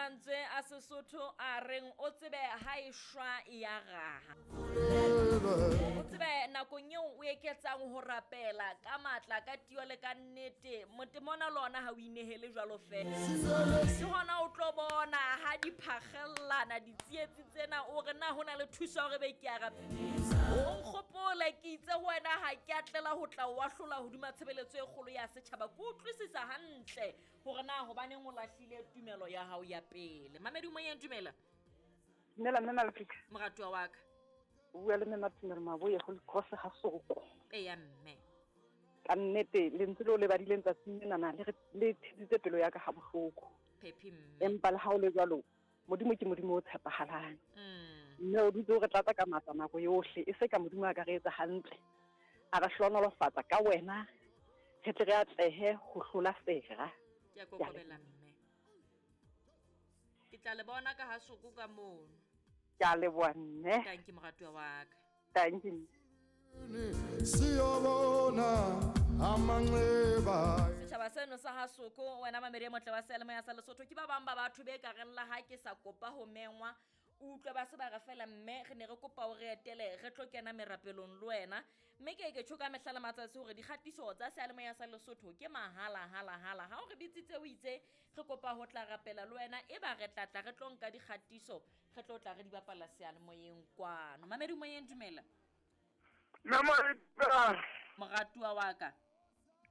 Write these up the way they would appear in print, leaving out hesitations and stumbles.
Mantswe a Sesotho a reng o tsebe ha e shwa e ya raha. O tsebe nakong eo o eketsang ho rapela ka matla ka tio le ka nnete motemona le ona ha o inehele jwalo fela. Ke hona o tlo bona ha di phagellana ditsietsi tsena o re na ho na le thuso ya hore be ke a rapela. O nkgopole ke itse ho wena ha ke a tlela ho tla o ahlola hodima tshebeletso e kgolo ya setjhaba. Ke utlwisisa hantle gore na gobaneng o lahlile tumelo ya gago ya pele. Mamedi moyeng, dumela. Dumela mme Malefika. Moratuwa wa ka. O bua le mme Matumelo Maboye go Cross ga Soko. Eya mme. Ka nnete lentswe leo le badileng tsatsing lenana le le thetsitse pelo ya ka ga bohloko. Phephi mme. Empa le ha o le jwalo Modimo ke Modimo o tshepahalang. Mme o dutse o re tlatsa ka matla nako yohle, e se ka Modimo a ka re etsa hantle. A re hlohonolofatsa ka wena, re tle re atlehe ho hlola sera. Ke a kokobela mme. Ke tla le bona ka ha soko ka mono. Ke a leboha mme. Tanki moratuwa wa ka. Tanki mme. Siyobona amanxeba. Setjhaba seno sa ha Soko, wena mamedi e motle wa seyalemoya sa Lesotho, ke ba bang ba batho be ka reng la ha ke sa kopa ho mengwa, o utlwe ba se ba re fela mme re ne re kopa o re etele re tlo kena merapelong le wena. Mme ke ke tjho ka mehla le matsatsi hore dikgatiso tsa seyalemoya sa Lesotho ke mahala hala hala. Ha o re bitsitse o itse re kopa ho tla rapela le wena, e ba re tla tla re tlo nka dikgatiso re tlo tla re di bapala seyalemoyeng kwano. Mamedi moyeng, dumela. Mme Marita. Moratuwa wa ka.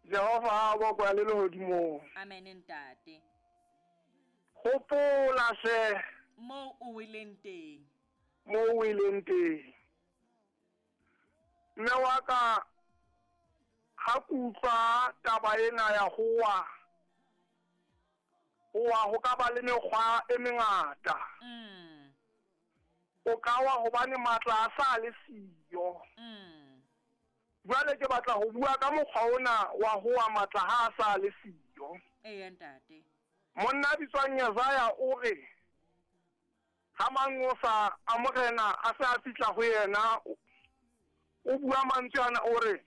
Jehova a bokwa le lehodimong. Amen ntate. Hopola hle. Moo o weleng teng. Moo o weleng teng. Mme wa ka ha ke utlwa taba ena ya ho wa, ho wa ho ka ba le mekgwa e mengata. O ka wa hobane matla a sa le siyo. Jwale ke batla ho bua ka mokgwa ona wa ho wa matla ha a sa le siyo. Eya ntate. Monna a bitswang Yesaya o re ha manqosa a morena a se a fihla ho yena, o bua mantswe ana o re,